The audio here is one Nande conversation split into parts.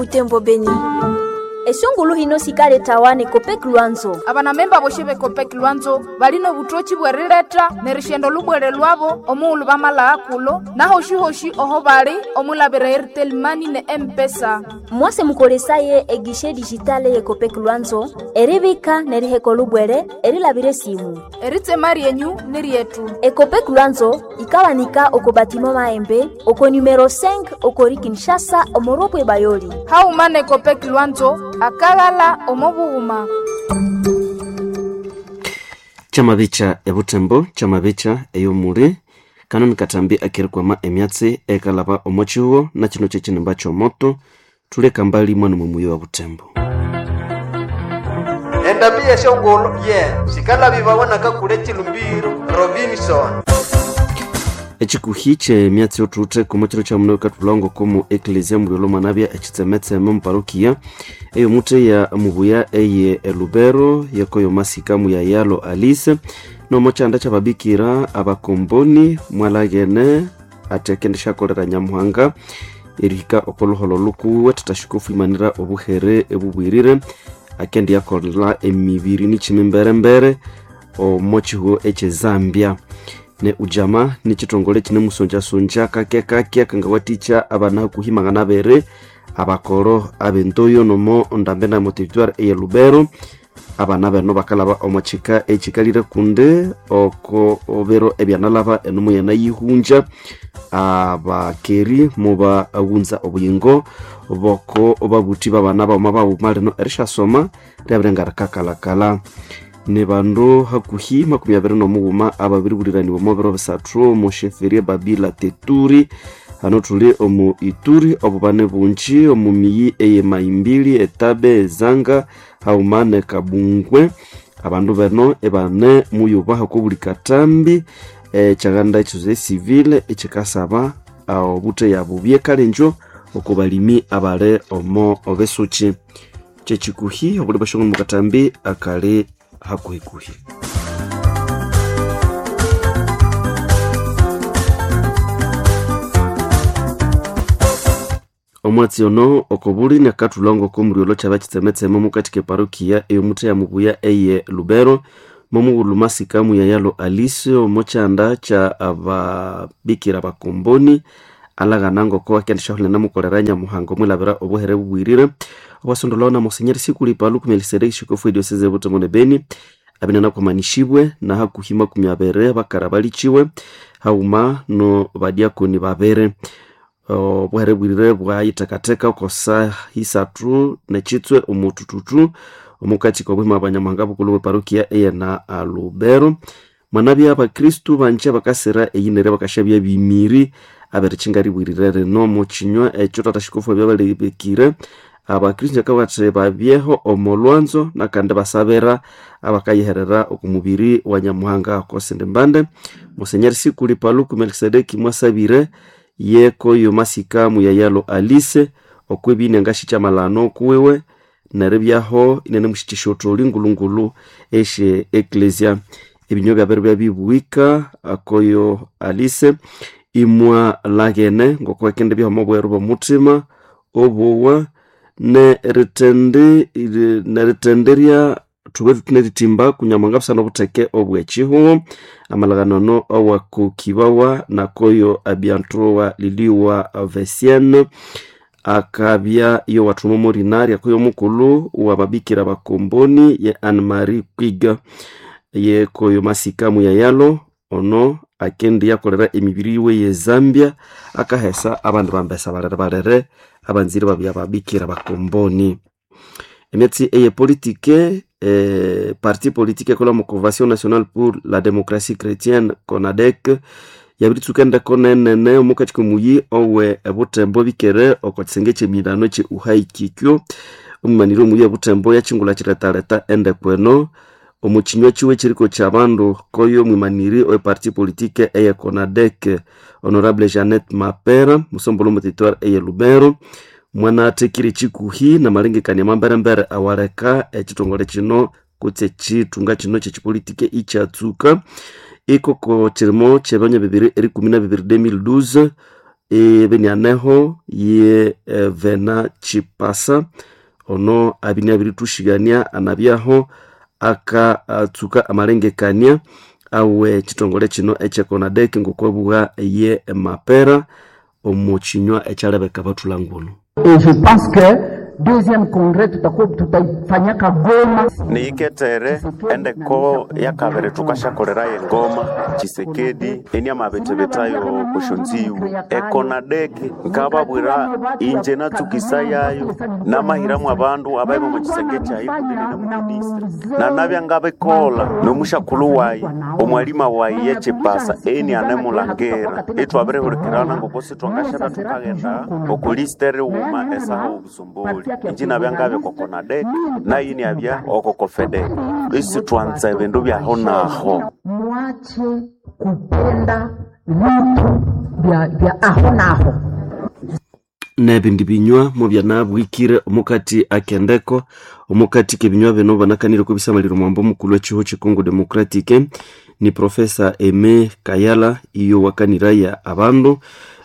Butembo, Beni. Esungulu hino sikaletawa ne Copec Lwanzo. Abanamemba boshe be Copec Lwanzo balina obutoki bw'erileta nerishenda olubwere lwabo omughulhu bamalagha kulo nahoshi-hoshi oho bali omwilabira Airtel Money ne M-Pesa. Mwase mukolesaye eguichet digital ye Copec Lwanzo eribika neriheka olubwere erilabira esimu. Eritsema ryenyu ni ryetu. Ecopec Lwanzo ikabanika oko batiment Mahembe oko numero 5 okori Kinshasa omoropwe Bayoli. Hauma ne Copec Lwanzo akaghala omo bughuma. Kyamabicha ebutembo, kyamabicha ey'omuli kano nikatambi akerikwama emyatsi ekalaba omo kihugo na kino kyekinimba ky'omoto tuleka mbali mwana mwe wa butembo. Endambi yeshongolo ye sikalabibawa nakakule chilumbiro Robinson. Ekikuhi kyemyatsi yotuuthe komo kiro kya muno katulongo komu eklesia mulyolo mwanabya ekitsemetseme muparokia eyomuthe ya mubuya eye elubero yekoyo masika muyayalo Alice nomo kyanda kyababikira abakomboni mwalaghene ati akendishakolera Nyamuhanga erihika okoluholo lukuwe tatashikofu imanira obuhere ebubwirire akendiyakolera emibiri nikyimi mberembere omo kihugo ekye Zambia. Ne ujama ni chitongole chine musonjasonja kake kake akangawatikya abana hakuhi magana abere abakoro abentoyo nomo ndambe na motivatoire eye Lubero. Abana beno bakalaba omo kika ekikalire kunde oko obero ebyanalaba enomo yanayihunja abakeri mubaghunza obuyingo boko babuthi babana bauma bauma lino erishasoma ryabire rikakalakala. Ni bandu hakuhi 23 ababiribuliranibwa omo biro bisathu omu sheferie Babila Teturi hano thuli omu Ituri obubane bungi omu miyi eye Maimbili, Etabe, Ezanga hauma ne Kabungwe. Abandu beno ebane muyuba okobuli katambi ekyaganda ekyoze civile ekyikasaba obuthe yabubye kalenjo oko balimi abali omo obesuki. Kyekikuhi obuli bweshongolo mukatambi akali hakuhikuhi. Omwatsi ono okobuli nakathulongo komuryolo kyaba kitsemetseme omukati keparokia eyomuthe ya mubuya eye Lubero momughulhu masika muyayalo Alice omo kyanda kya ababikira bakomboni alaghana ngoko akendishahulia namukolera Nyamuhanga omwilabira obuhere bubwirire obwasondolwawo na Monsenyeri Sikuli Paluku Melkisedeki shikofu edioseze Butembo ne Beni abinene kwamanishibwe na hakuhi 20 bakara balichiwe hauma no badiakoni babere. Obuhere bwirire bwayitekateka okosa hisathu nekitswe omutututu omukati k'obuhima bwa bukulu bwe parokia eye na Lubero. Mwanabya abakristu banje bakasira eyinere bakashabya bimiri aberikinga ribwirire rino omu kinywa ekyo tata shikofu ebyabalebekire abakristu akabathi babyeho omo lwanzo nakandi basabira abakayiherera oku mubiri wa Nyamuhanga okosindi mbande. Monsenyeri Sikuli Paluku Melkisedeki mwasabire yekoyo masika muyayalo Alice okwebine ngashikyamalano kuwiwe neribyaho inene mushikisha otholi ngulungulu esye eklesia. Ebinywa byabere byabibuwika akoyo Alice imwa laghene ngoko akende byaho obweru bw'omuthima obowa neritenderya thube thuthi kunyamuhanga busana obutheke obw'ekihugo. Amalaghanano awakukibawa nakoyo abiantowa liliwa Vesienne akabya yowathuma omorinari akoyo omukulhu wababikira bakomboni ye Anne Marie Kwiga yekoyo masika muyayalo ono akendiyakolera emibiri yiwe ye Zambia akahesa abandi bambesa balere balere abanzire babya babikira bakomboni. Emyatsi eye politike parti politique ekola mu Convention nationale pour la démocratie chrétienne CONADEC yabiritsuka endeko nenene omukati komuyi owe ebutembo bikere oko kisenge kyemilano kye uhai kikyo. Omumaniri omuyi ebutembo yakingula kiretaleta endeko eno omu kinywa kiwe kiriko kyabandu koyo omwimaniri owe parti politique eye CONADEC Honorable Jeannette Mapera musombolo omu territoire eye Lubero mwana athekire ekikuhi namalengekania mamberembere awaleka ekitongole kino kutse ekithunga kino kyekipolitike ikyatsuka ikoko kirimo kyebanya 2012. Ebenianeho ye Vena Chipasa ono abini abiritushigania anabyaho akatsuka amalengekania awe chitongole chino echekonadek ngokwabuga ye mapera omu chinywa ekyalebeka bathulangunu. Et je pense que deuxième congrès tutakuwa tutaifanyaka Goma. Niiketere endeko yakabiri tukashakolerayo engoma Tshisekedi eni amabetebetayo kushonziwu ekonadeki nkababwira inje natsukisa yayo namahiramu abandu abaima omu kisenge kyayi kunene nemukidistre nanabya ngabikola nomushakulhu wayi omwalima wayi yechipasa eni anemulangira itwabirihulikirana ngoko sithwangashabya thukaghenda oku list erighuma esaha obusomboli inji nabya ngabya kokonadek nayi niabya okokofedek isithwanza ebindu byaho naho. Mwache kupenda vitu vya aho naho. Nebindi binywa mubyanabwikire omukati akendeko omukati kebinywa bino banakanire kubisamalira omwambo omukulu wechiho chikongo Democratic ni Profesa Eme Kayala iyo wakaniraya abandu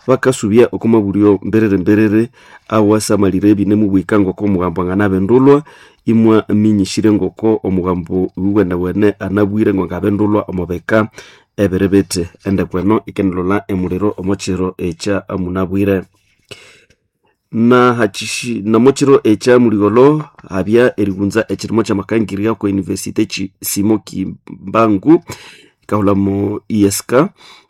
bakasubya okomabulyo mberere mberere awasamalire ebine mubwika ngoko omugambo anganabendulwa imwa minyishire ngoko omugambo wiwenewene anabwire ngo ngabendulwa omubeka ebirebete endekweno ikendilola emuliro omokiro ekya munabwire na hachishi namochiro echa muligolo habya erigunza ekirimo kyamakangirya ku university Simo Kimbangu ikahulamo ISK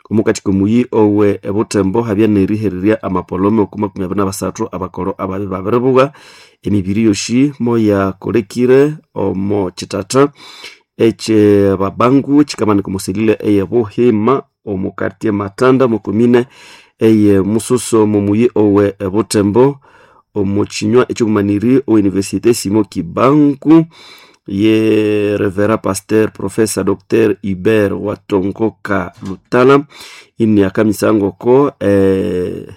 omukati komuyi owe ebutembo habya nerihererya amapolome oku 23 abakoro ababi babiribuga emibiri yoshi moyakolekire omo chitata eche babangu chikamanika omuselile eye buhima omu quartier Matanda mukomine eye mususo mumuyi owe ebutembo omu chinywa ekyobumaniri owe universite Simo Kibangu ye Revera Pasteur Professor Dr Hubert Watongoka Lutala ini akamisangoko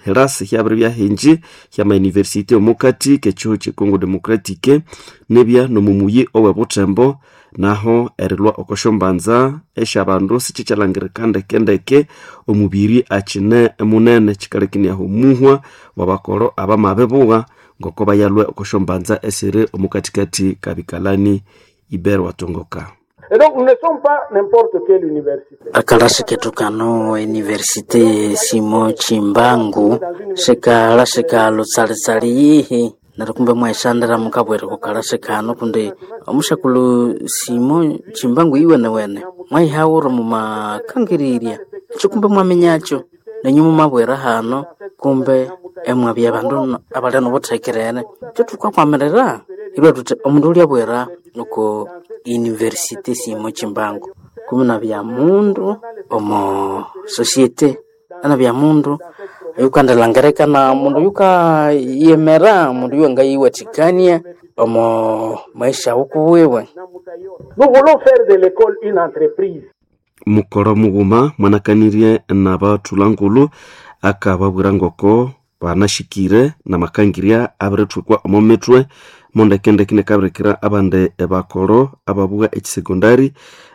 herasi hyabiri byahinji hyama university omukati kechiho che Congo Democratique nebya nomumuyi owe butembo naho erilwa okoshombanza esyabandu sichikyalangirika ndekendeke omubiri akine munene kikalekiniaho omuhwa wabakoro abamabibuwa ngoko bayalwe okoshombanza esiri omukatikati kabikalani Iber Watongoka. Et donc, nous ne sommes pas n'importe quelle université. Akalasi ketu kano universite Simo Chimbangu sikalasi lutsali-tsali yihi neryo kumbe mwaisandira mukabwera kukalasi kano kundi omushakulu Simo Chimbangu iwenewene mwaihawura mumakangirirya ekyo kumbe mwaminyakyo nenyu mumabwera hano kumbe emwabya abandu abali nobuthekerere kyo thukakwamirira ilwe thuthi omundu ulyabwera oko university Simo Chimbangu kumi nabya mundu omo societe anabya mundu yukandilangirekana mundu yukayemera mundu yuwangayiwathikania omo maisha wukuwiwe. Nous voulons faire de l'école une entreprise. Mukoro mughuma mwanakanirye nabathulangulu akababwira ngoko banashikire namakangirya abirithwikwa omo mithwe mondekendeke nekabirikira abandi bakoro ababuga ekisekondari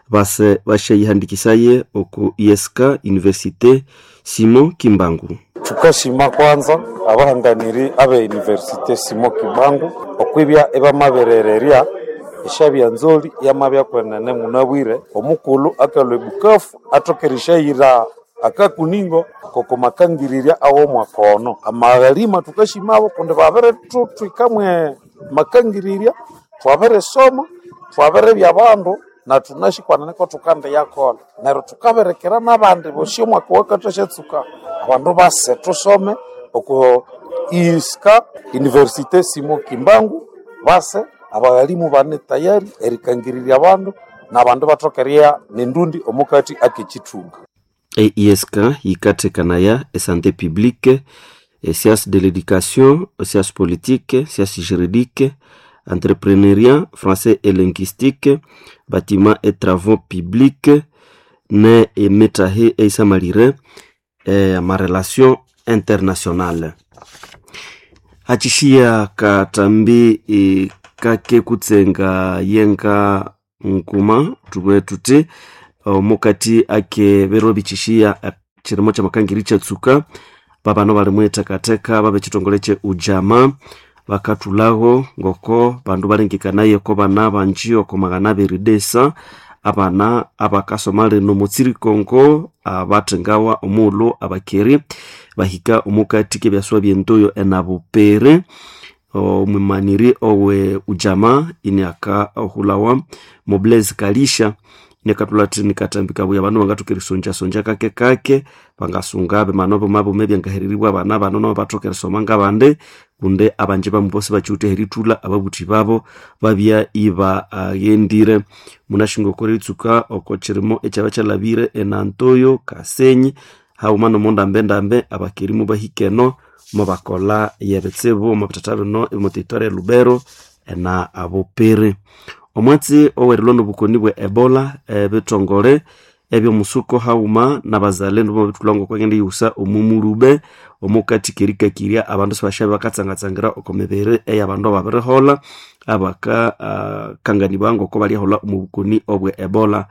base bashayihandikisaye oku ISK Université Simo Kimbangu. Thukashima kwanza abahanganiri abe Université Simo Kimbangu okwibya ebamaberererya eshabya nzoli yamabya kwenene munabwire omukulhu akalhwa ebukafu athoka erishayira akakuningo koko makangirirya aw'omwaka ono amaghalima thukashimabo kundi babirithuthikamwe makangirirya thwabirisoma thwabiribya abandu na thunashikwanene ko thukandiyakolha neryo thukabirikira n'abandi bosi omwaka wakathashatsuka abandu base thusome oko ISK Université Simo Kimbangu base abaghalimu bane tayari erikangirirya abandu n'abandu bathoka eriya nendundi omukati ak'ekithunga. EISK yikathekanaya esanté publique, sciences de l'éducation, sciences politiques, sciences juridiques, entrepreneuriat, français et linguistique, bâtiment et travaux publics, ne emetahe eisamalire amarelation internationale. Hachishiya katambi kake kutsenga yenga nkuma tubwe tuti omukati ake bero bichishiya chirimo kyamakangiri kyatsuka. Babano bali mwithekatheka babe chitongole kye Ujama bakathulaho ngoko bandu balengekanaye ko bana banji oko 200 desa abana abakasoma lino mutsirikongo abathengawa omughulhu abakeri bahika omukati kebyaswa byentoyo enabupere. Omwimaniri owe Ujama iniakahulawa Mobleze Kalisha inakathulha athi nikatambi kabuya abandu bangathoka erisonjasonja kake kake bangasunga bimano bumabuma ebyangahereribwa abana bano nabo bathoka erisoma ngabandi, kundi abanji bamu sibakiwithe erithulha ababuthi babo babya ibaghendire. Munashinga oko eritsuka oko kirimo ekyaba kyalhabire enantoyo Kasenyi haghuma nomundambendambe abakeri mubahika eno mubakolha yebitsibu omo bithatha bino omo territory e Lubero ena Bupiri. Omwatsi owerilwa nobukoni bwe Ebola, ebithongole ebyomusuko haghuma nabazalendo bamabithulha ngoko bagenda eriyighusa omumulube omukati kerikakirya abandu sibasyabe bakatsangatsangira oko mibiri eyabandu ababiriholha abakakanganibwa ngoko balyaholha omu bukoni obwe Ebola.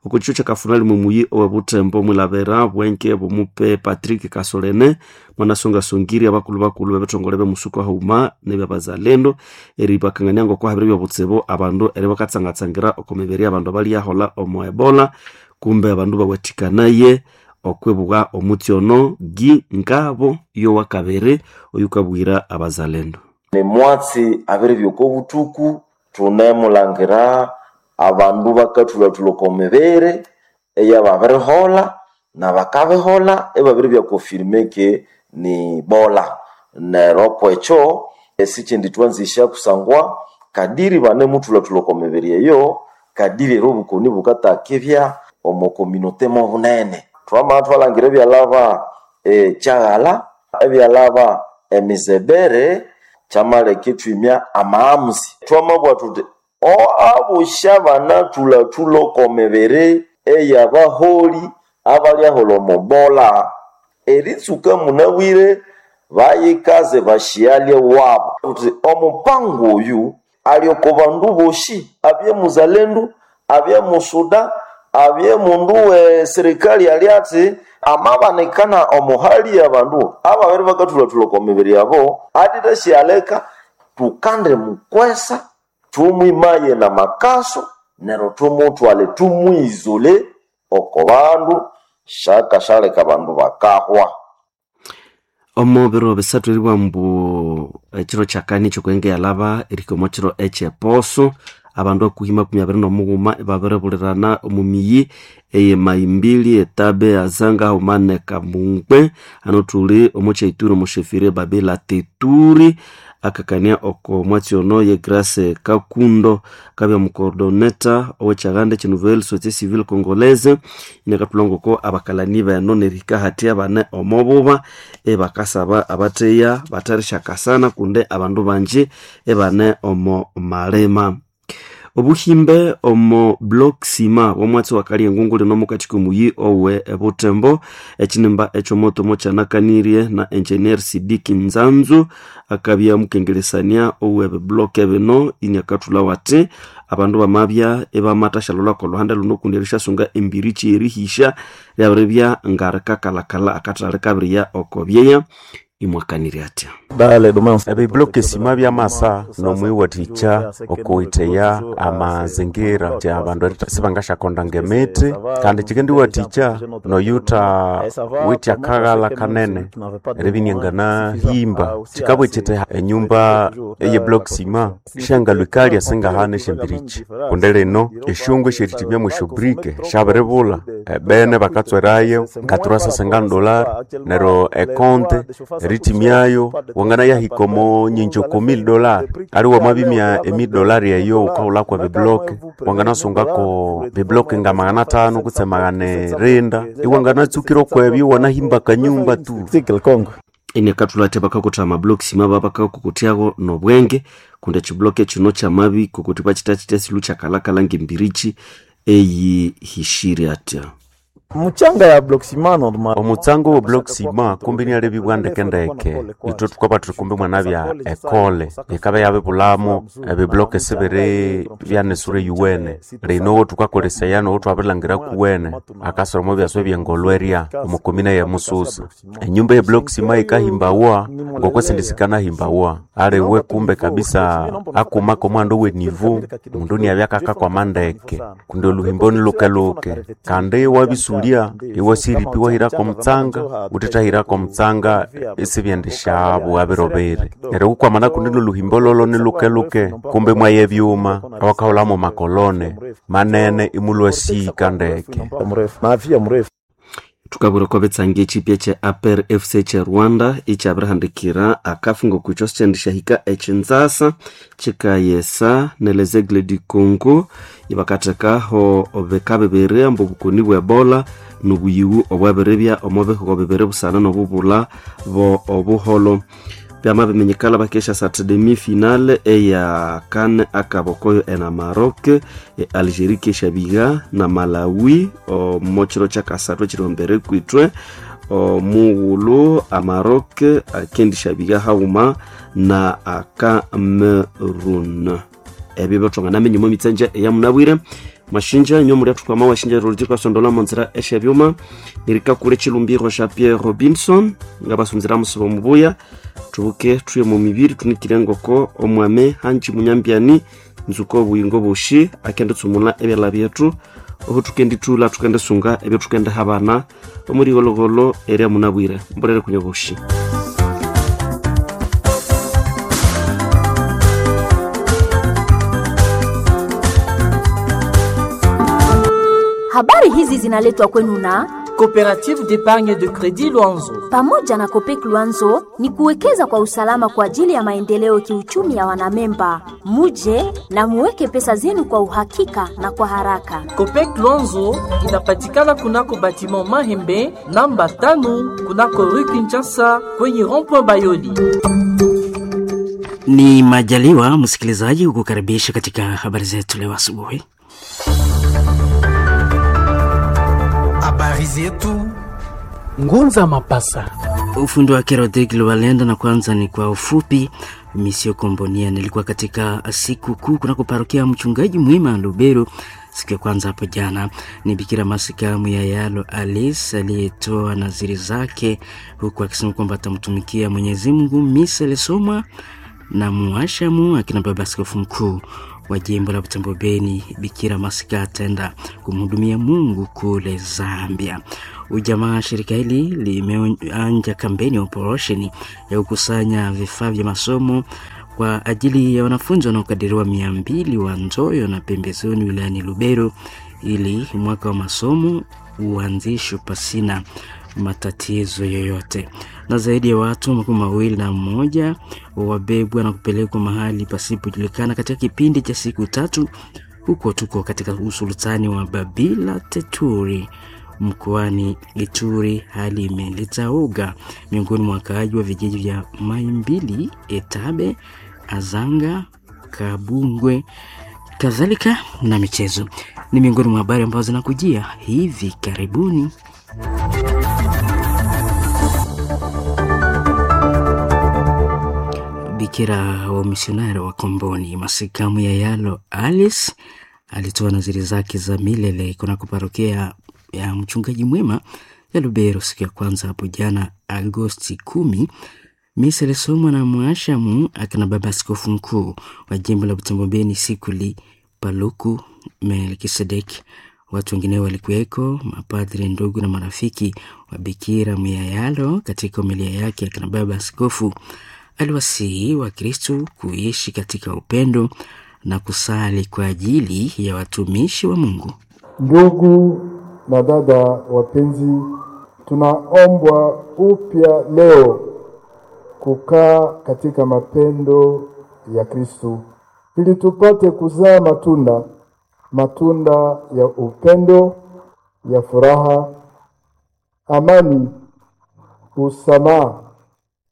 Oko kihwa kyakafunali mumuyi owe Butembo mwilabira bwenke bumupe Patrick Kasolene mwanasongasongirye abakulhu bakulhu bebithongole byomusuko haghuma nebyabazalendo eribakangania ngoko habiribya obutsibu abandu eribakatsangatsangira oko mibiri yabandu abalyaholha omo Ebola, kumbe abandu bawathikanaye okwibugha omutsi ono gi ngabo yowakabiri oyukabwira abazalendo. Nemwatsi abiribya oko buthuku thunemulangira abandu bakathulhathulha oko mibiri eyababiriholha nabakabiholha ibabiribya confirme ke ni bola. Neryo kwekyo esikyindi thwanzisya kusangwa kadiri banemuthulhathulha oko mibiri eyo kadiri ero obukoni bukatakibya omo communauté mobunene. Twamabya thwalangira ebyalhaba ekyaghalha, ebyalhaba emizebere kyamaleka ithwimya amaghamuzi. Twamabugha thuthi abosi abanathulhathulha oko mibiri eyabaholi abalyaholha omo bola eritsuka munabwire bayikaze basyalye wabo. Thuthi omupango oyu ali oko bandu bosi, abye muzalendu, abye musuda, abye mundu we serikali ali athi amabanikana omuhali yabandu ababiri bakathulhathulha oko mibiri yabo atithasyaleka tukande mukwesa thumwimaye namakaso neryo thumuthwale thumwizole oko bandu syakashaleka abandu bakahwa. Omo biro bisathu eribugha ambu ekiro kyakani ekyokwenge yalhaba erihika omo kiro ekyeposo abandu hakuhi 23 ibabiribulirana omu miyi eye Maimbili, Etabe, Azanga haghuma ne Kamungwe. Hano thuli omo kyaituri omo shefiri Babila Teturi akakania oko mwatsi ono ye Grace Kakundo akabya mucoordinator owekyaganda ekye Nouvelle Société Civile Congolaise inakathulha ngoko abakalani beno nerihika hathya abane omo buba ibakasaba abatheya batherishakasana kundi abandu banji ibane omo malima. Obuhimbe omo block sima womwatsi wakalya engungu lino omukati komuyi owe Butembo ekinimba ekyomoto mokyanakanirye na engineer Sidiki Nzanzu akabya mukengelesania owe block bino iniakathulha wathi abandu bamabya ibamathashalholha kolhuhande luno kundi erisyasunga embirichi erihisya lyabiribya ngarikakalhakalha akathali kabirya oko byeya imwakanirye atya. Ebiblock sima byamasa nomwiwathikya okuwitheya amazingira kya bandu sibangasyakonda ngemithi kandi kyikendiwathikya noyutha withe akaghalha kanene eribya inianganahimba. Kyikabugha kyithi enyumba eye block sima syangalhwikalya singahana esyambirikyi kundi lino esyongo esyerithimya mwesyobrike syabiribulha ebene bakatswerayo nga $350 neryo ekonte erithimyayo wanganayahika omo nyingi oko $1000 ali wamabimya $1000 eyo wukahulhaku ebiblock wanganasungako biblock nga 500 kutse 700 iwanganatsukira okwebyo iwanahimba akanyumba tu. Inakathulha athi bakakutha amablock sima babakakukuthyago nobwenge kundi ekiblock kino kyamabi kukuthi bakithakyitya silu kyakalhakalha ngembirichi eyihishire atya. Muchanga ya bloc ciment normal. Omutsango wa bloc ciment kumbi nialebibwa ndekendeke. Ithwe thukabathira kumbi mwanabya ekole yikabya yabibulhamu ebiblock esibiri byanesura eyuwene. Lino owo thukakolesaya nowo thwabirilhangira kuwene akasoroma ebyaswa ebyengolwerya omu komine ye Mususa. Enyumba ye block ciment yikahimbawa ngokwesindi sikanahimbawa. Aliwe kumbe kabisa akuma komuhanda owenivu omundu niabya akakakwama ndeke kundi oluhimbo nilukeluke kandi iwabisulya iwasiripa iwahirako omutsanga wuthithahirako omutsanga isibyendisyabu birobere. Neryo wukwamana kundi noluhimbo lolo nilukeluke kumbe mwaya ebyuma awakahulhamu makolone manene imulhwasika ndeke. Thukabwira okwa bitsangi ekipya kye APR FC kye Rwanda ikyabirihandikira akafu ngokwico sikyendishahika ekinzasa kikayesa ne Les Aigles du Congo ibakathekaho bika bibiri ambu obukoni bwe Ebola nobuyiwu obwabiribya omo bihugo bibiri busana nobubulha bo obuholo. Byamabiminyikala bakesha sat demi finale eya CAN akabokoyo ena Maroc, Algeria keshabiga na Malawi omo kiro kyakasathu ekiri mbere kwithwe omughulhu Amaroc akendishabiga haghuma na Cameroon. Ebyo byathwanganaminya omo mitsanja eyamunabwire mashinja inyo mulya thukwama washinja ruliti kwasondola monzera eshebyuma nirikakule chilumbiro sha Pierre Robinson ngabasunzira musibo mubuya tubuke thuye mu mibiri tunikire ngoko omwame hanji munyambyani nzuko obuyingo boshi akenditsumula ebyala byethu oho tukendithula tukendisunga ebyo tukendihabana omurighologolo eria munabwire mbolere kunya boshi. Habari hizi zinaletwa kwenu na Coopérative d'épargne de crédit Luanzo. Pamoja na Copec Luanzo ni kuwekeza kwa usalama kwa ajili ya maendeleo kiuchumi ya wanamemba. Muje na muweke pesa zenu kwa uhakika na kwa haraka. Copec Luanzo inapatikana kunako batiment Mahembe namba 5 kunako rue Kinshasa kwenye rond-point Bayoli. Ni majaliwa msikilizaji kukukaribisha katika habari zetu leo asubuhi. Habari zetu Ngunza Mapasa. Ufundi wake Rodrigue Lualenda. Na kwanza ni kwa ufupi, Misio Kombonia nilikuwa katika siku kuu kunako parokia mchungaji mwima Lubero siku ya kwanza hapo jana. Ni Bikira Masika Muyayalo Alice aliyetoa nadhiri zake huku akisema kwamba atamtumikia Mwenyezi Mungu. Misa ilisomwa na muashamu akina baba askofu mkuu wa jimbo la Butembo Beni, Bikira Masika ataenda kumhudumia Mungu kule Zambia. Ujamaa shirika hili limeanja kampeni ya operesheni ya kukusanya vifaa vya masomo kwa ajili ya wanafunzi wanaokadiriwa 200 wa Nzoyo na pembezoni wilayani Lubero ili mwaka wa masomo uanzishwe pasina matatizo yoyote. Na zaidi ya watu 21 wabebwa na kupelekwa mahali pasipojulikana katika kipindi cha siku 3 huko tuko katika usultani wa Babila Teturi mkoani Ituri. Hali imeleta uga miongoni mwa wakaaji wa vijiji vya Maimbili, Etabe, Azanga, Kabungwe kadhalika na michezo ni miongoni mwa habari ambazo zinakujia hivi karibuni. Bikira wa misionari wa Komboni Masikamu ya Yalo Alice alitoa nadhiri zake za milele kunako parokia ya mchungaji mwema ya Lubero siku ya kwanza hapo jana Agosti 10. Misa ilisomwa na mwashamu akina baba askofu mkuu wa jimbo la Butembo Beni Sikuli Paluku Melkisedek. Watu wengine walikuweko, mapadri, ndugu na marafiki wa Bikira Muyayalo. Katika homilia yake akina baba askofu aliwasihi Wakristo kuishi katika upendo na kusali kwa ajili ya watumishi wa Mungu. Ndugu na dada wapenzi, tunaombwa upya leo kukaa katika mapendo ya Kristo ili tupate kuzaa matunda, matunda ya upendo, ya furaha, amani, usamaha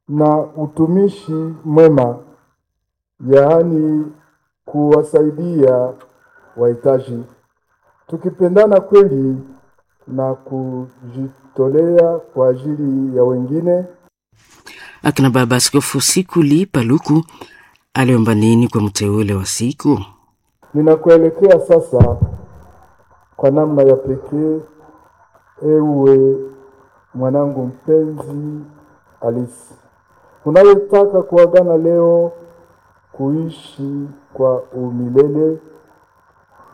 na utumishi mwema, yaani kuwasaidia wahitaji. Tukipendana kweli na kujitolea kwa ajili ya wengine. Akina Baba Askofu Sikuli Paluku aliomba nini kwa mteule wa siku? Ninakuelekea sasa kwa namna ya pekee, ewe mwanangu mpenzi Alice, unayetaka kuagana leo kuishi kwa umilele,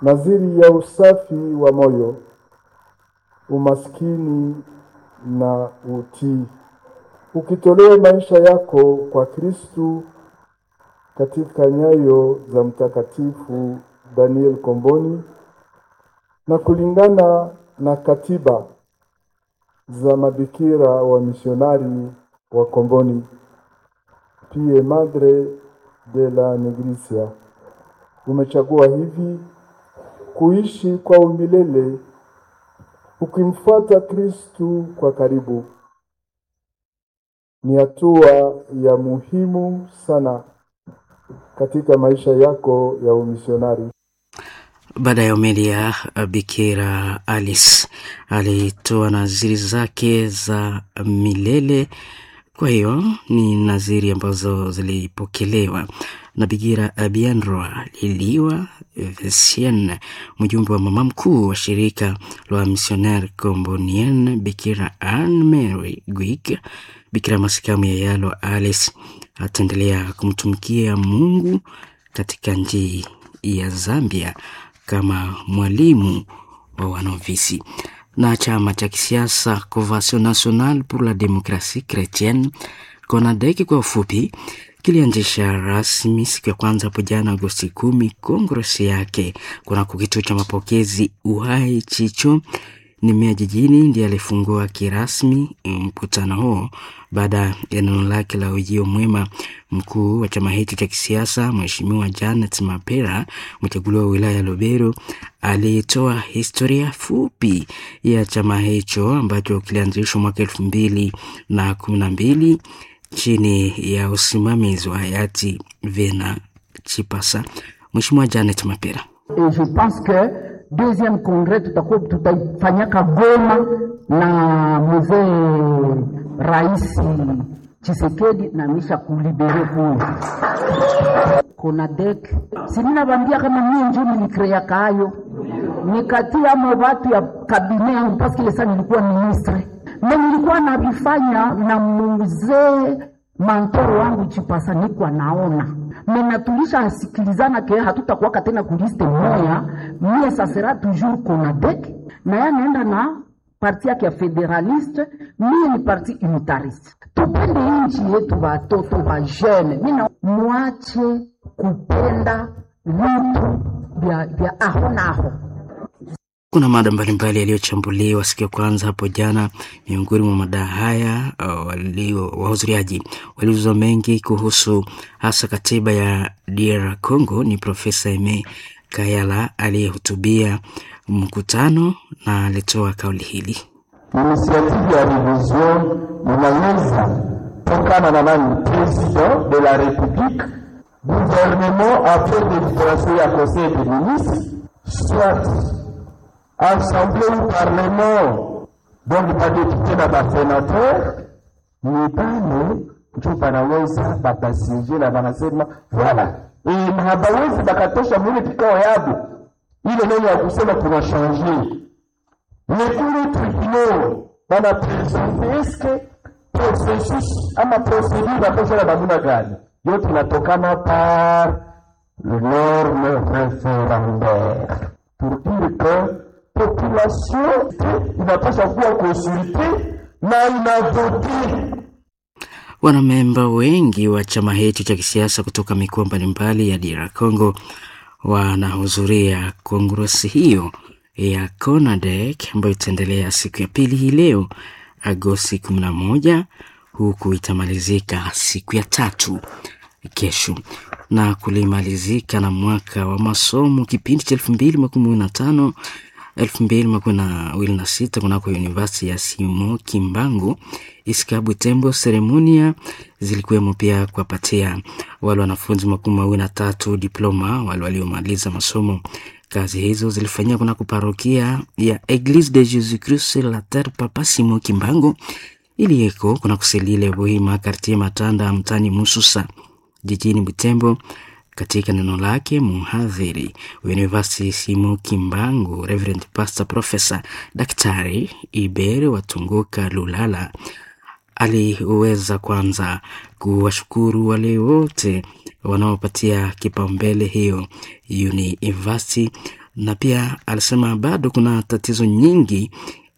nadhiri ya usafi wa moyo, umaskini na utii, ukitolea maisha yako kwa Kristu katika nyayo za Mtakatifu Daniel Comboni na kulingana na katiba za mabikira wa misionari wa Comboni, Pie Madre de la Nigricia. Umechagua hivi kuishi kwa umilele ukimfuata Kristu kwa karibu. Ni hatua ya muhimu sana katika maisha yako ya umisionari. Baada ya homilia, Bikira Alice alitoa naziri zake za milele. Kwa hiyo ni naziri ambazo zilipokelewa na Bikira Bianroa Liliwa Vesien, mjumbe wa mama mkuu wa shirika la Missionnaire Combonien, Bikira Anne Mary Gwig, Bikira Masikamu Yayalo Alice ataendelea kumtumikia Mungu katika nchi ya Zambia kama mwalimu wa wanovisi. Na chama cha kisiasa Convention Nationale pour la Democratie Chrétienne CONADEC kwa ufupi, kilianzisha rasmi siku ya kwanza hapo jana Agosti 10 kongresi yake kunako kituo cha mapokezi Uhai Chicho ni meya jijini ndiye alifungua kirasmi mkutano huo baada ya neno lake la ujio mwema. Mkuu wa chama hicho cha kisiasa Mheshimiwa Janet Mapera, mchaguliwa wa wilaya ya Lubero, alitoa historia fupi ya chama hicho ambacho kilianzishwa mwaka 2012 chini ya usimamizi wa hayati Vena Chipasa. Mheshimiwa Janet Mapera: Et je pense que deuxième congrès tutakuwa tutaifanyaka Goma na mzee Rais Tshisekedi na misha kulibere kule Konadek. Si mimi nawaambia kama mimi njo nilikrea kayo nikatia mo watu ya kabine yangu parce que ça nilikuwa ministre na nilikuwa navifanya na mzee mantoro wangu Chipasa, nikuwa naona mena tulisha asikilizana ke hatutakuwaka tena kuliste moya, mie ça sera toujours Konadek na ya naenda na parti yake ya federaliste, mie ni parti unitariste. Tupende nchi yetu, watoto wa jeune, mina mwache kupenda vitu vya aho naho. Kuna mada mbalimbali yaliyochambuliwa siku ya kwanza hapo jana. Miongoni mwa mada haya wahudhuriaji waliuza mengi kuhusu hasa katiba ya DR Congo. Ni Profesa Aime Kayala aliyehutubia mkutano na alitoa kauli hili. Initiative ya revision inaweza tokana na nani? President de la Republique, gouvernement après délibération ya conseil des ministres, soit assemblée ou parlement, donc badepute na basenateur ni bale njo banaweza bakasije na banasema voilà, e, na habawezi bakatosha mwile kikao yabo ile neno ya kusema kuna changer mais kule tribunal bana presente eske processus ama procedure batosha na namuna gani, yote inatokana par norme référendaire pour dire que population inapasha kuwa consulte na inavote. Wanamemba wengi wa chama hicho cha kisiasa kutoka mikoa mbalimbali ya DR Congo wanahudhuria kongresi hiyo ya CONADEC ambayo itaendelea siku ya pili hii leo Agosti 11 huku itamalizika siku ya tatu kesho na kulimalizika na mwaka wa masomo kipindi cha 2015 2026 kunako University ya Simo Kimbangu Isikabu Tembo. Seremonia zilikuwemo pia kuwapatia wale wanafunzi 23 diploma wale waliomaliza masomo Kazi hizo zilifanyika kunako parokia ya Eglise de Jésus Christ sur la Terre Papa Simon Kimbangu iliyeko kunako selile Buhima kartie Matanda mtani Mususa jijini Butembo. Katika neno lake mhadhiri wa University Simon Kimbangu, Reverend Pastor Professor Daktari Ibere Watunguka Lulala aliweza kwanza kuwashukuru wale wote wanaopatia kipaumbele hiyo university, na pia alisema bado kuna tatizo nyingi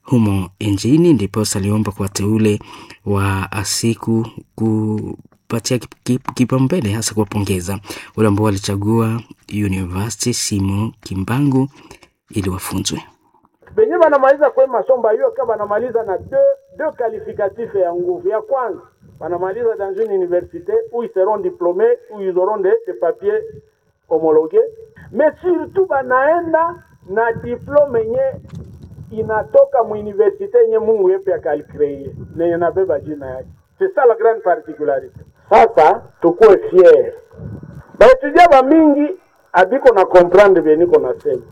humo nchini, ndiposa aliomba kwa wateule wa siku kupatia kipaumbele, hasa kuwapongeza wale ambao walichagua University Simon Kimbangu ili wafunzwe benye banamaliza kwe masomo bayo ka banamaliza na deux qualificatifs ya nguvu. Ya kwanza banamaliza dans une université où ils seront diplômés, où ils auront des papiers homologués, mais surtout banaenda na diplôme yenye inatoka mu université yenye Mungu yepe akalicréer nenye nabeba jina yake. C'est ça la grande particularité. Sasa tukuwe fier, baetudia ba mingi abiko na comprendre bie niko nasema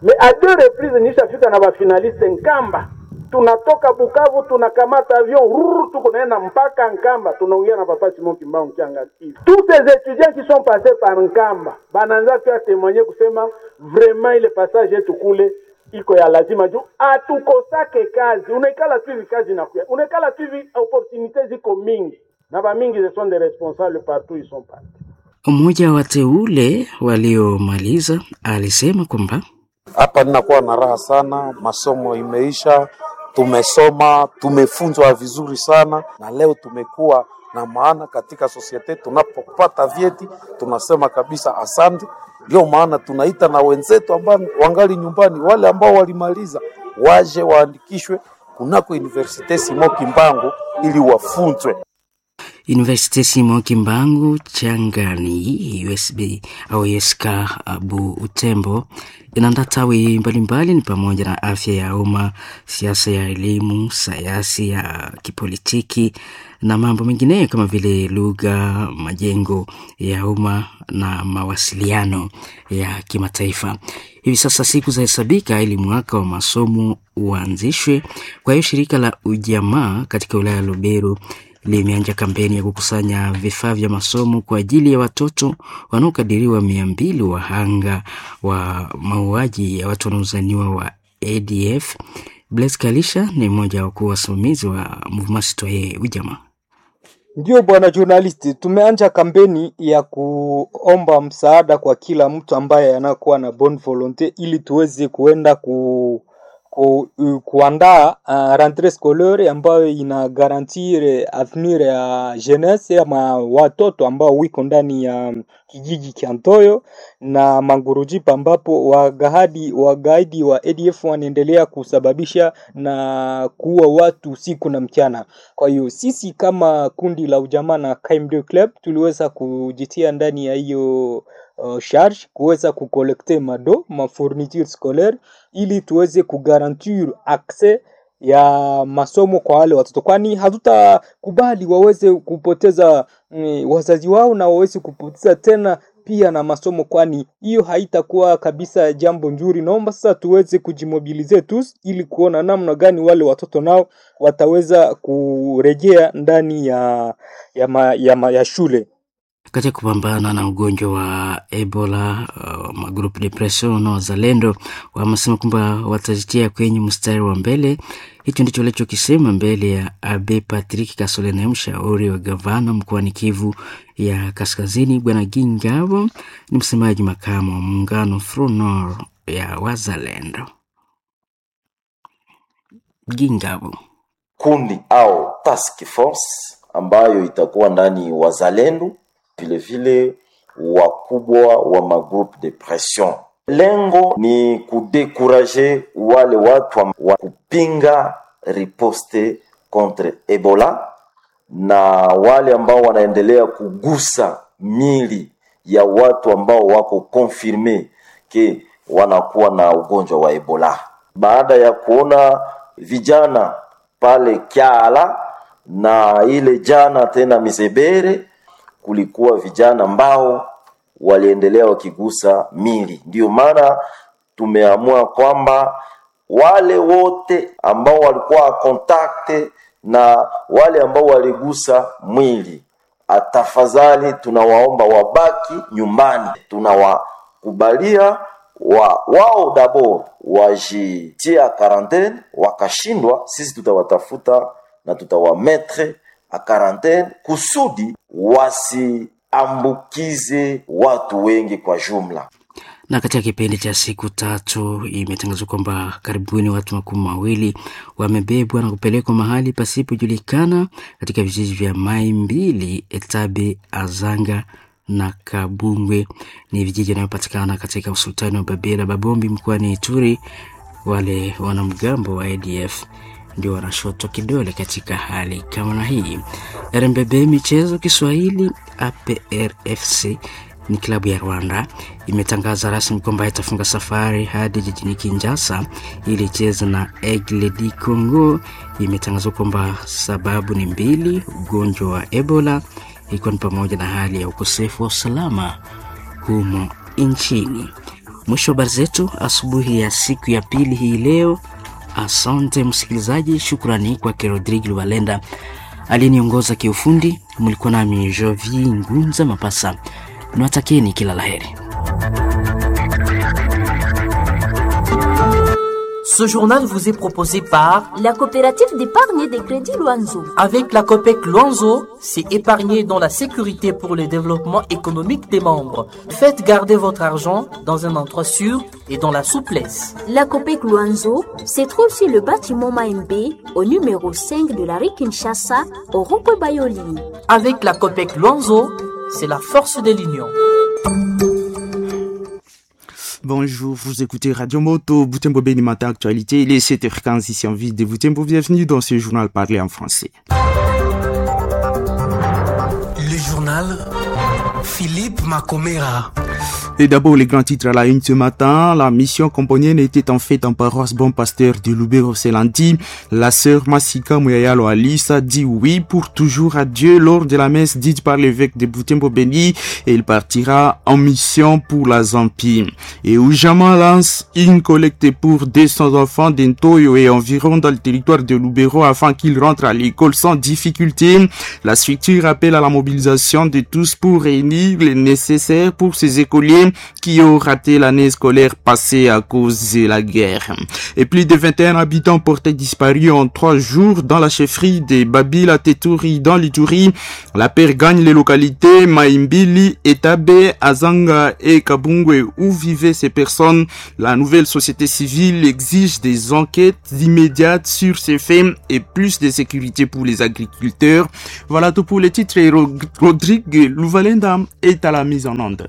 mais à deux reprises nishafika na bafinaliste Nkamba, tunatoka Bukavu tunakamata avion rrr, tuko naenda mpaka Nkamba, tunaongea na papa Simon Kimbangu Kianga. Tous ces étudiants qui sont passés par Nkamba banaanza pia témoigner kusema vraiment ile passage yetu kule iko ya lazima juu atukosake kazi, unaikala tu hivi kazi inakuya, unaikala tu hivi opportunité ziko mingi na ba mingi ce sont des responsables partout ils sont partis. Mmoja wa wateule waliomaliza alisema kwamba Hapa ninakuwa na raha sana, masomo imeisha, tumesoma, tumefunzwa vizuri sana, na leo tumekuwa na maana katika sosiete. Tunapopata vyeti tunasema kabisa asante. Ndio maana tunaita na wenzetu ambao wangali nyumbani, wale ambao walimaliza waje waandikishwe kunako Universite Simon Kimbangu ili wafunzwe. Universite Simon Kimbangu Changani USB au USK Butembo inaandaa tawi mbalimbali ni pamoja na afya ya umma, siasa ya elimu, sayansi ya kipolitiki na mambo mengineyo kama vile lugha, majengo ya umma na mawasiliano ya kimataifa. Hivi sasa siku zahesabika ili mwaka wa masomo uanzishwe. Kwa hiyo shirika la ujamaa katika wilaya ya Lubero limeanza kampeni ya kukusanya vifaa vya masomo kwa ajili ya watoto wanaokadiriwa 200 wahanga wa mauaji ya watu wanaozaniwa wa ADF. Blaise Kalisha ni mmoja wa wakuu wasimamizi wa Mouvement Citoyen Ujamaa. Ndiyo bwana journalist, tumeanja kampeni ya kuomba msaada kwa kila mtu ambaye anakuwa na bonne volonté ili tuweze kuenda kuandaa rentrée scolaire ambayo ina garantir avenir ya jeunesse ama watoto ambao wiko ndani ya kijiji cha Ntoyo na Mangurujipa ambapo wagaidi wa ADF wanaendelea kusababisha na kuua watu usiku na mchana. Kwa hiyo sisi kama kundi la ujamaa na KMD Club tuliweza kujitia ndani ya hiyo charge kuweza kukolekte mado ma fourniture scolaire ili tuweze kugarantir accès ya masomo kwa wale watoto, kwani hatutakubali waweze kupoteza wazazi wao na waweze kupoteza tena pia na masomo, kwani hiyo haitakuwa kabisa jambo nzuri. Naomba sasa tuweze kujimobilize tu ili kuona namna gani wale watoto nao wataweza kurejea ndani ya shule. Katika kupambana na ugonjwa wa Ebola, magrupu de pression na wazalendo wamesema kwamba watajitia kwenye mstari wa mbele. Hicho ndicho walichokisema mbele ya Abe Patrick Kasolene, mshauri wa gavana mkoani Kivu ya Kaskazini. Bwana Gingabo ni msemaji makamu wa muungano Front ya wazalendo. Gingabo kundi au task force ambayo itakuwa ndani wazalendo vilevile wakubwa wa magroupe de pression. Lengo ni kudekuraje wale watu wa kupinga riposte contre Ebola na wale ambao wanaendelea kugusa mili ya watu ambao wako confirme ke wanakuwa na ugonjwa wa Ebola. Baada ya kuona vijana pale Kyala na ile jana tena Mizebere, kulikuwa vijana ambao waliendelea wakigusa mili. Ndiyo maana tumeamua kwamba wale wote ambao walikuwa kontakte na wale ambao waligusa mwili, tafadhali tunawaomba wabaki nyumbani. Tunawakubalia wao dabo wajitia karantene, wakashindwa, sisi tutawatafuta na tutawametre a karantene kusudi wasiambukize watu wengi kwa jumla. Na katika kipindi cha siku 3 imetangazwa kwamba karibuni watu 20 wamebebwa na kupelekwa mahali pasipojulikana katika vijiji vya Mai Mbili, Etabe, Azanga na Kabungwe. Ni vijiji vinavyopatikana katika usultani wa Babila Babombi mkoani Ituri. Wale wanamgambo wa ADF ndio wanashotwa kidole katika hali kama na hii. RMBB Michezo Kiswahili, APRFC ni klabu ya Rwanda imetangaza rasmi kwamba itafunga safari hadi jijini Kinshasa ili icheze na Aigle du Congo. Imetangazwa kwamba sababu ni mbili: ugonjwa wa Ebola ikiwa ni pamoja na hali ya ukosefu wa usalama humo nchini. Mwisho wa habari zetu asubuhi ya siku ya pili hii leo. Asante msikilizaji, shukrani kwake Rodrigue Lubalenda aliyeniongoza kiufundi. Mlikuwa nami Jovi Ngunza Mapasa, niwatakieni kila laheri. Ce journal vous est proposé par la coopérative d'épargne et de crédit Luanzo. Avec la COPEC Luanzo, c'est épargner dans la sécurité pour le développement économique des membres. Faites garder votre argent dans un endroit sûr et dans la souplesse. La COPEC Luanzo se trouve sur le bâtiment Maembe, au numéro 5 de la rue Kinshasa, au rond-point Bayoli. Avec la COPEC Luanzo, c'est la force de l'union. Bonjour, vous écoutez Radio Moto, Butembo Beni Matin Actualité, il est 7h15 ici en ville de Butembo. Bienvenue dans ce journal parlé en français. Le journal Philippe Macomera. Et d'abord, les grands titres à la une ce matin. La mission componienne était en fait en paroisse Bon Pasteur de Lubero lundi. La sœur Masika Muyayalo Alice a dit oui pour toujours à Dieu lors de la messe dite par l'évêque de Butembo Beni et il partira en mission pour la Zambie. Et Oujama lance une collecte pour 200 enfants d'Entoyo et environ dans le territoire de Lubero afin qu'ils rentrent à l'école sans difficulté. La structure appelle à la mobilisation de tous pour réunir les nécessaires pour ces écoliers qui ont raté l'année scolaire passée à cause de la guerre. Et plus de 21 habitants portés disparus en 3 jours dans la chefferie des Babila Tetouri dans l'Ituri. La paire gagne les localités Maimbili, Etabe, Azanga et Kabungwe où vivaient ces personnes. La nouvelle société civile exige des enquêtes immédiates sur ces faits et plus de sécurité pour les agriculteurs. Voilà tout pour les titres et Rodrigue Louvalenda est à la mise en onde.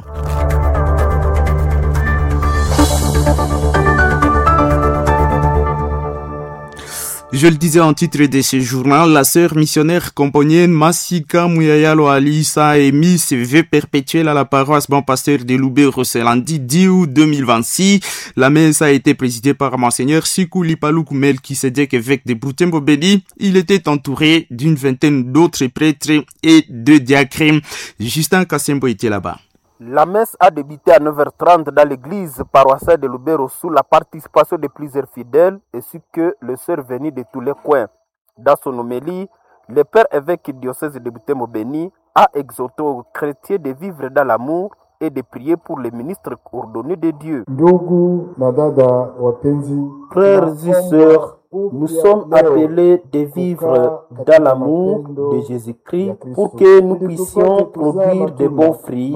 Je le disais en titre de ce journal, la sœur missionnaire componienne Masika Muyayalo Alissa a émis ses vœux perpétuels à la paroisse Bon Pasteur de Loubé lundi 10 août 2026. La messe a été présidée par Monseigneur Sikou Lipaloukou Melchisedec, évêque de Butembo Beni. Il était entouré d'une vingtaine d'autres prêtres et de diacres. Justin Kassembo était là-bas. La messe a débuté à 9h30 dans l'église paroissiale de Lubero sous la participation de plusieurs fidèles ainsi que le sœur venu de tous les coins. Dans son homélie, le père évêque du diocèse de Butembo Beni a exhorté aux chrétiens de vivre dans l'amour et de prier pour les ministres ordonnés de Dieu. Ndugu na dada wapenzi, frères et sœurs, nous sommes appelés de vivre dans l'amour de Jésus-Christ pour que nous puissions produire de bons fruits,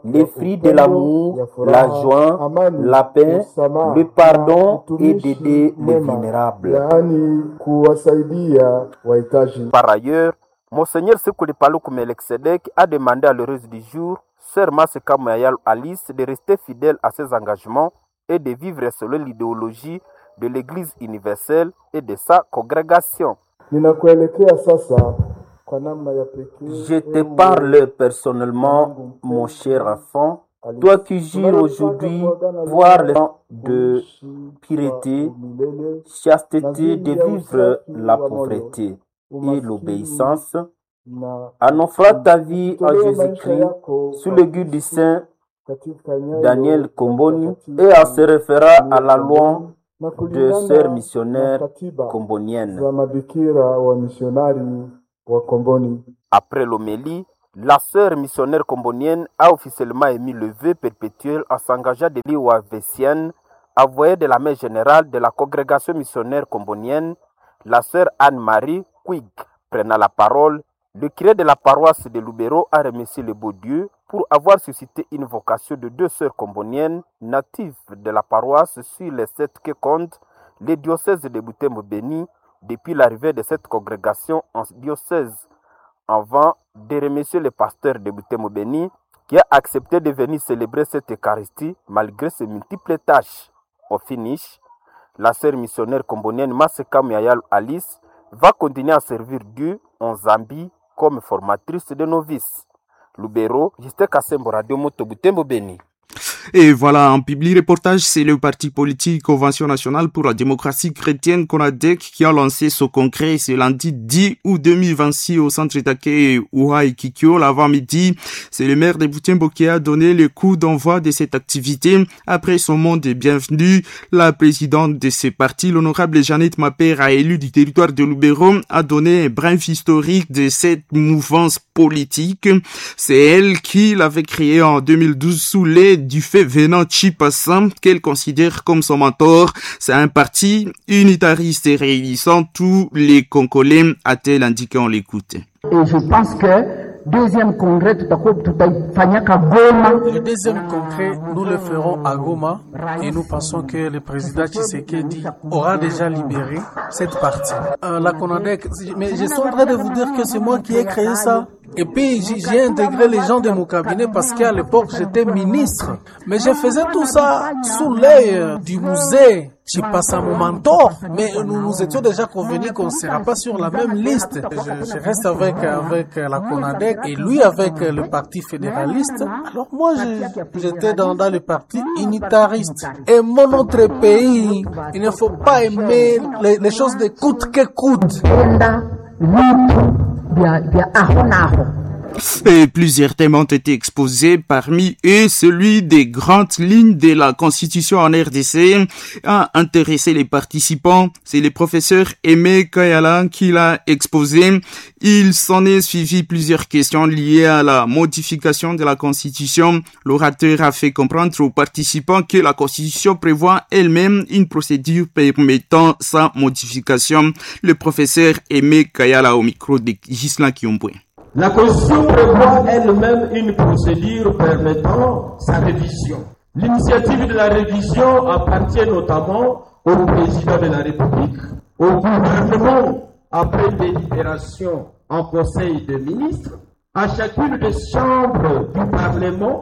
les fruits de l'amour, la joie, la paix, le pardon et d'aider les vulnérables. Yaani kuwasaidia wahitaji. Par ailleurs, Monseigneur Sekuli Paluku Melkisedek a demandé à l'heureuse du jour, Sœur Masika Muyayalo Alice, de rester fidèle à ses engagements et de vivre selon l'idéologie de l'Église universelle et de sa congrégation. Ninakuelekea sasa kwa namna ya pekee. Je te parle personnellement, mon cher enfant, toi qui jures aujourd'hui voir le temps de pureté, chasteté, de vivre la pauvreté et l'obéissance. Na En offrant ta vie à kujitolea maisha Jésus-Christ yako sous kwa le guide du Kristo Saint katika nyayo Daniel za Comboni Mtakatifu et en se référant à la loi na de kulingana sœurs na missionnaires katiba comboniennes. za mabikira wa misionari wa Komboni. Après l'homélie, la sœur missionnaire combonienne a officiellement émis le vœu perpétuel en s'engageant de l'Iwavesienne, avoyée de la mère générale de la congrégation missionnaire combonienne, la sœur Anne-Marie Quig. Prenant la parole, le curé de la paroisse de Lubero a remercié le beau Dieu pour avoir suscité une vocation de deux sœurs comboniennes natives de la paroisse sur les sept que compte le diocèse de Butembo-Béni depuis l'arrivée de cette congrégation en diocèse, avant de remercier le pasteur de Butembo Béni qui a accepté de venir célébrer cette Eucharistie malgré ses multiples tâches. Au finish, la sœur missionnaire combonienne Maseka Muyayal Alice va continuer à servir Dieu en Zambie comme formatrice de novices. Lubero, Justin Kasembo, Radio Moto Butembo Béni. Et voilà, en public reportage, c'est le parti politique Convention nationale pour la démocratie chrétienne CONADEC qui a lancé son congrès ce lundi 10 août 2026 au centre d'accueil Ouaï Kikyo l'avant-midi. C'est le maire de Butembo qui a donné le coup d'envoi de cette activité. Après son mot de bienvenue, la présidente de ce parti, l'honorable Jeannette Mapère, a élu du territoire de Lubero, a donné un bref historique de cette mouvance politique. C'est elle qui l'avait créée en 2012 sous l'aide du fait venant Chipassan, qu'elle considère comme son mentor. C'est un parti unitariste et réunissant tous les Congolais, a-t-elle indiqué, on l'écoute. Et je pense que deuxième congrès tutakuwa tutaifanyaka Goma. Le deuxième congrès, nous le ferons à Goma et nous pensons que le président Tshisekedi aura déjà libéré cette partie. La CONADEC, mais je suis en train de vous dire que c'est moi qui ai créé ça. Et puis j'ai intégré les gens de mon cabinet parce qu'à l'époque j'étais ministre. Mais je faisais tout ça sous l'œil du musée. J'ai passé à mon mentor, mais nous nous étions déjà convenus qu'on ne sera pas sur la même liste. Je reste avec la CONADEC et lui avec le parti fédéraliste. Alors moi, j'étais dans le parti unitariste. Aimons notre pays. Il ne faut pas aimer les choses de coûte que coûte. Et plusieurs thèmes ont été exposés, parmi eux celui des grandes lignes de la Constitution en RDC a intéressé les participants. C'est le professeur Aimé Kayala qui l'a exposé. Il s'en est suivi plusieurs questions liées à la modification de la Constitution. L'orateur a fait comprendre aux participants que la Constitution prévoit elle-même une procédure permettant sa modification. Le professeur Aimé Kayala au micro de Ghislain Kiomboué. La Constitution prévoit elle-même une procédure permettant sa révision. L'initiative de la révision appartient notamment au président de la République, au gouvernement après délibération en Conseil des ministres, à chacune des chambres du Parlement.